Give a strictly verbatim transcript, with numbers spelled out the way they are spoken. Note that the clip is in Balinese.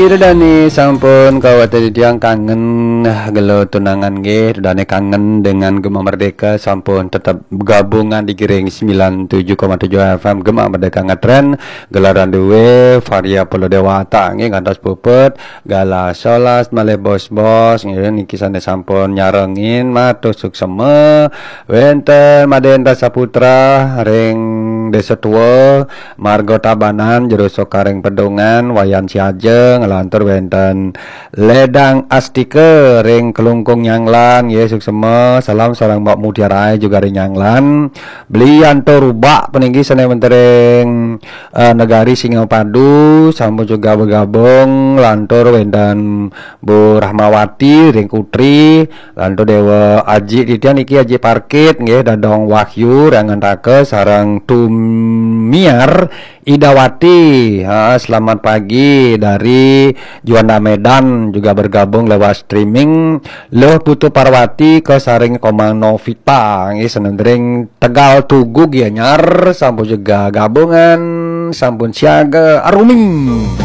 Ida dane sampun kawate titiang kangen gelo tunangan nggih, ida dane kangen dengan Gema Merdeka sampun tetap gabungan di Giring sembilan tujuh koma tujuh F M Gema Merdeka ngetren gelaran duwe Varia Polo Dewata nggih ngantos puput galah solas malih bos-bos nggih niki sane sampun nyarengin matur suksema wenten Madenta Saputra ring Desa Tua Margo Tabanan, Jero Sokaring Pedungan, Wayan Siaja, ngelantur wenten Ledang Astika ring Kelungkung Nyanglan, nggih suksema, salam sareng Mbok Mutiara juga ring Nyanglan. Beli Anto Rubak peninggi sane wenten ring eh, Negari Singapadu, sampun juga bergabung, lantur wenten Bu Rahmawati ring Kutri, lantur Dewa Aji titiang niki Aji Parkit nggih Dadong Wahyu ring Ngantaka sareng Tumiar Idawati. Ha, selamat pagi dari Juanda Medan juga bergabung lewat streaming. Luh Putu Parwati ke sareng Komang Novita nggih senendring Tegal Tugu Gianyar sampun juga gabungan sampun siaga aruming.